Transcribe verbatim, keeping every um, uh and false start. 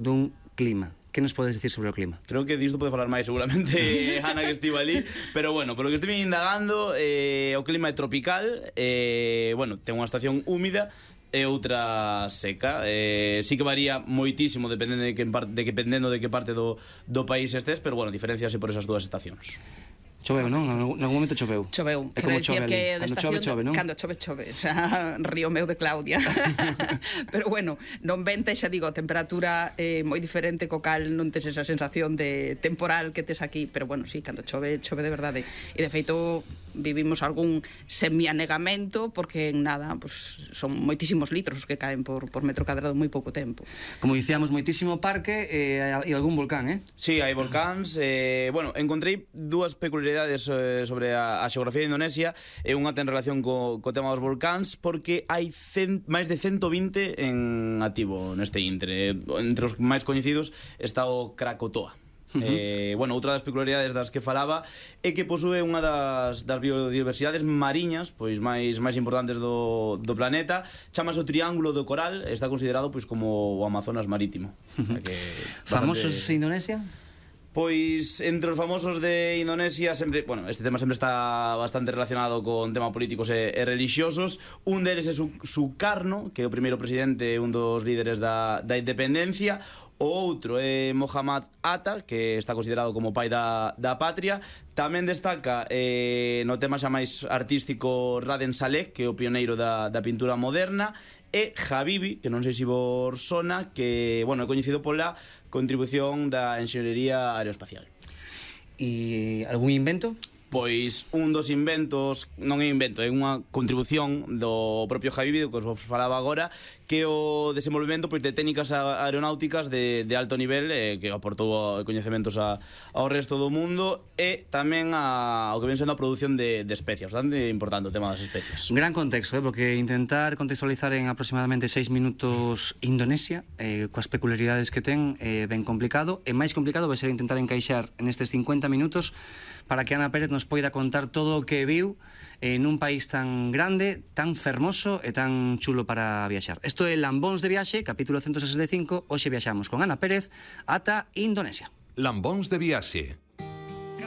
dun clima. Que nos podes dicir sobre o clima? Creo que disto pode falar máis seguramente Ana, que estive ali. Pero bueno, polo que estive indagando, eh, o clima é tropical. eh, Bueno, ten unha estación húmida e outra seca. eh, Sí que varía moitísimo dependendo de que, de que, dependendo de que parte do, do país estés. Pero bueno, diferenciase por esas dúas estacións. Choveu, non? En algún momento choveu. Choveu. É como chove que ali. Cando chove, chove, non? Cando chove, chove. O sea, río meu de Claudia. Pero bueno, non venta, xa digo, a temperatura é eh, moi diferente, co cal non tes esa sensación de temporal que tes aquí. Pero bueno, sí, cando chove, chove de verdade. E de feito, vivimos algún semianegamento, porque en nada, pues, son moitísimos litros os que caen por, por metro cadrado en moi pouco tempo. Como dicíamos, moitísimo parque e, e algún volcán, eh? Sí, hai volcáns. eh, Bueno, encontrei dúas peculiaridades sobre a, a xeografía de Indonesia, e unha ten relación co, co tema dos volcáns, porque hai cen, máis de ciento vinte en activo neste intre. Entre os máis coñecidos está o Krakatoa. Uh-huh. eh, bueno, outra das peculiaridades das que falaba é que posúe unha das, das biodiversidades mariñas pois máis máis importantes do, do planeta. Chámase o Triángulo do Coral. Está considerado pois como o Amazonas marítimo. Uh-huh. que Famosos bastante... de Indonesia? Pois entre os famosos de Indonesia sempre, bueno, este tema sempre está bastante relacionado con temas políticos e, e religiosos. Un deles é Sukarno, que é o primeiro presidente, un dos líderes da, da independencia. O outro é Muhammad Atta, que está considerado como pai da, da patria. Tamén destaca eh, no tema xa máis artístico Raden Saleh, que é o pioneiro da, da pintura moderna. E Habibi, que non sei se vos sona, que, bueno, é coñecido pola contribución da enxeñería aeroespacial. E algún invento? Pois un dos inventos, non é invento, é unha contribución do propio Habibi, que os falaba agora, que o desenvolvemento pois, de técnicas aeronáuticas de, de alto nivel, eh, que aportou coñecementos a, ao resto do mundo, e tamén a, ao que ven sendo a produción de, de especias. Bastante importante o tema das especias. Un gran contexto, eh, porque intentar contextualizar en aproximadamente seis minutos Indonesia, eh, coas peculiaridades que ten, é eh, ben complicado. E máis complicado vai ser intentar encaixar en estes cincuenta minutos para que Ana Pérez nos poida contar todo o que viu en un país tan grande, tan fermoso e tan chulo para viaxar. Isto é Lambóns de Viaxe, capítulo ciento sesenta e cinco. Hoxe viaxamos con Ana Pérez ata Indonesia. Lambóns de Viaxe.